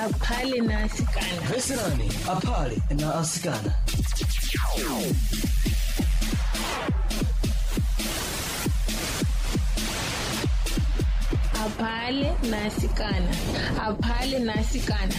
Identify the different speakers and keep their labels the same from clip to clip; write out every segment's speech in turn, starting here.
Speaker 1: Aphale na asikana.
Speaker 2: Veserani aphale na asikana.
Speaker 1: Aphale na asikana. Aphale na asikana.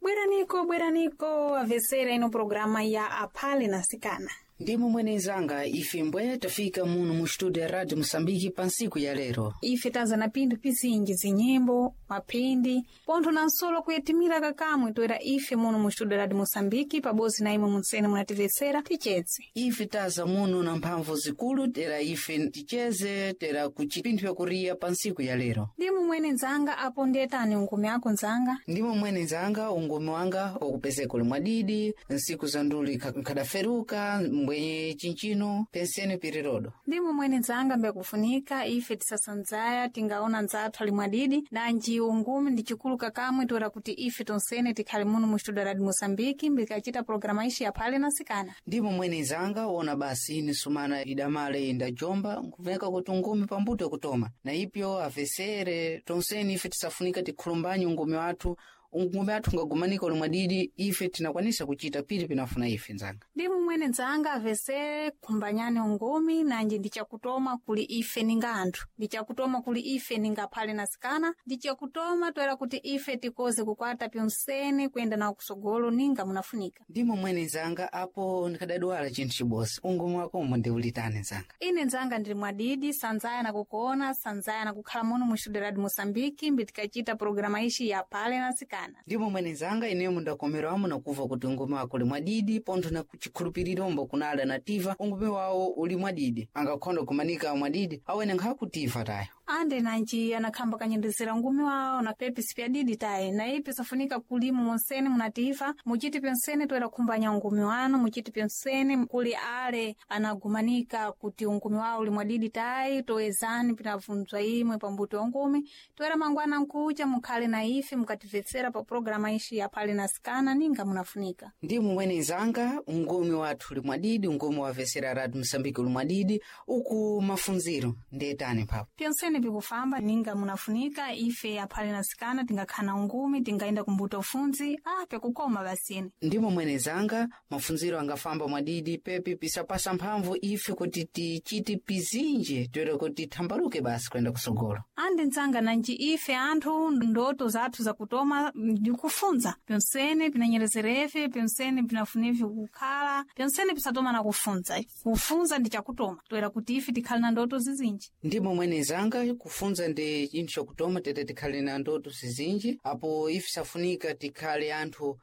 Speaker 3: Bweraniko, bweraniko, avesera ino programa ya Aphale na Asikana.
Speaker 4: Ndimo mwenezanga ife mbwe tafika muno mu studio ya Radio Mosambiki pa ntsiku ya lero.
Speaker 3: Ife taza na pinthu pizinji zinyimbo, mapindi, pontho na nsolo kuyetimira kakamwe toera ife muno mu studio Radio Mosambiki pabodzi na imwe munsene munativesera tichedze.
Speaker 4: Ife taza muno na mphamvu zikulu tera ife ticheze tera kuchipinthu yakuriya pa ntsiku ya lero.
Speaker 3: Ndimo mwene nzanga apo ndiyetani ungumi ako nzanga.
Speaker 4: Ndimo mwene nzanga ungumi wanga wakupezeka uli mwadidi, nsiku za nduli nkhadaferuka mbwenye chinchino penseni pirirodo.
Speaker 3: Ndimo mwene nzanga mbekufunika ife tisasanzaya tingaona nzathu ali mwadidi nanji ungumi ndi chikulu kakamwe toera kuti ife tonsene tikhale muno mu studio Radio Mosambiki mbikachita programa ishi yaphale na asikana.
Speaker 4: Ndimo mwene nzanga wona basi ine sumana idamale indajomba nkuveka kuti ungumi pambuto yakutoma na ipyo avesere tonseni ife tisafunika tikhulumbanye ungumi wathu ungumi athu ungagumanika uli mwadidi ife tinakwanisa kuchita pili pinafuna ife nzanga.
Speaker 3: Ndimo mwene nzanga avesere kumbanyane ungumi nanji ndichakutoma kuli ife ninga anthu ndichakutoma kuli ife ninga aphale na asikana ndichakutoma toera kuti ife tikoze kukwata pyonsene kuyenda nawo kusogolo ninga munafunika.
Speaker 4: Ndimo mwene nzanga apo ndikadadwala chinthu chibosi ungumi wakomo ndiulitani nzanga.
Speaker 3: Ine nzanga ndili mwadidi sanzaya nakukuona sanzaya nakukhala muno mu studio Radio Mosambiki mbitikachita programa ishi ya aphale na asikana.
Speaker 4: Ndimo mwene nzanga ineyo mundakomerwamo nakuva kuti ungumi wako uli mwadidi pontho na chikhulupirirombo kunala nativa ungumi wawo uli mwadidi angakhonda kumanika mwadidi awene nkhakutiva tayo.
Speaker 3: Ande nanji anakhamba kanyendezera ngumi wawo na pepisi pyadidi tayi na ipi safunika kulima monsene munativa muchiti pyonsene toera khumbanya ungumi wanu muchiti pyonsene kuli ale anagumanika kuti ungumi wawo uli mwadidi tayi toezani pinavunzwa imwe pambuto ya ungumi toera mangwana nkucha mukhale na ife mukativetsera pa programa ishi yaphale na asikana ninga munafunika.
Speaker 4: Ndimo mwene nzanga ungumi wathu uli mwadidi ungumi wavesera Radio Mosambiki uli mwadidi uku mafunziro ndiyetani mphapo.
Speaker 3: Pyonsene pikufamba ninga munafunika ife aphale na asikana tingakhala ungumi tingaenda kumbuto ufunzi pyakukoma basini.
Speaker 4: Ndimo mwene zanga mafunziro angafamba mwadidi pepi pisapasa mphamvu ife kuti tichite pizinji toera kuti thambaluke basi kuyenda kusogolo.
Speaker 3: Andi nzanga nanji ife anthu ndoto zathu zakutoma ndikufunza pyonsene pinanyerezerefe pyonsene pinafunefe kukhala pyonsene pisatoma na kufunza kufunza ndi chakutoma toera kuti ife tikhale na ndoto zizinji.
Speaker 4: Ndimo mwene zanga kufunza ndi chinthu chakutoma tete tikhale na ndoto zizinji apo ife safunika tikhale anthu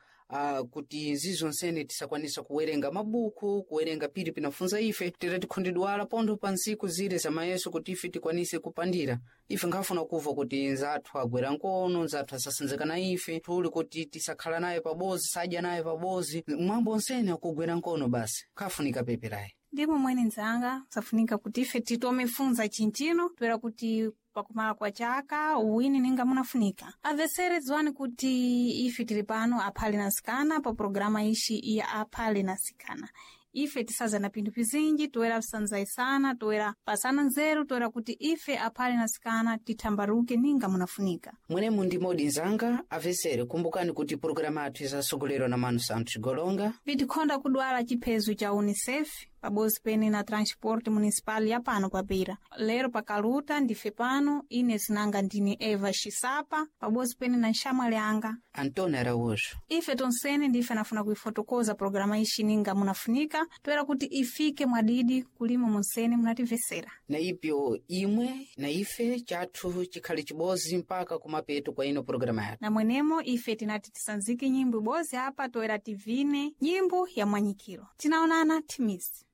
Speaker 4: kuti nzizonsene tisakwanisa kuwerenga mabuku kuwerenga pili pinafunza ife tete tikhundidwala pontho pa ntsiku zile zamayeso kuti ife tikwanise kupandira ife nkhafuna kuva kuti nzathu agwera nkono nzathu asasinzika na ife tuli kuti tisakhala naye pabozi sadya naye pabozi mwambo onsene akugwera nkono basi nkhafunika peperayi.
Speaker 3: Ndimo mwene nzanga safunika kuti ife titome funza chinchino toera kuti pakumala kwa chaka uwini ninga munafunika avesere dziwani kuti ife tili pano aphale na asikana pa programa ishi ya aphale na asikana ife tisaza na pinthu pizinji toera kusanzayisana toera pasana nzeru toera kuti ife aphale na asikana tithambaruke ninga munafunika.
Speaker 4: Mwenemu ndi modi nzanga avesere kumbukani kuti pologalamu athu isasogolerwa na Manu Santos Golonga
Speaker 3: Vitikhonda kudwala chiphezu cha UNICEF pabodzi pene na transporte municipal ya pano papira lero pakaluta ndife pano ine zinanga ndine Eva Xisapa pabodzi pene na nxamwali anga
Speaker 4: Antônio Araújo.
Speaker 3: Ife tonsene ndife anafuna kuifotokoza programa ishi ninga munafunika toera kuti ifike mwadidi kulima monsene munativesera.
Speaker 4: Na ipyo imwe na ife chathu chikhale chibozi mpaka kumapeto kwa ino pologalamu yathu.
Speaker 3: Na mwenemo ife tinati tisanzike nyimbo ibozi apa toera tivine nyimbo ya mwanyikiro tinaonana timisi.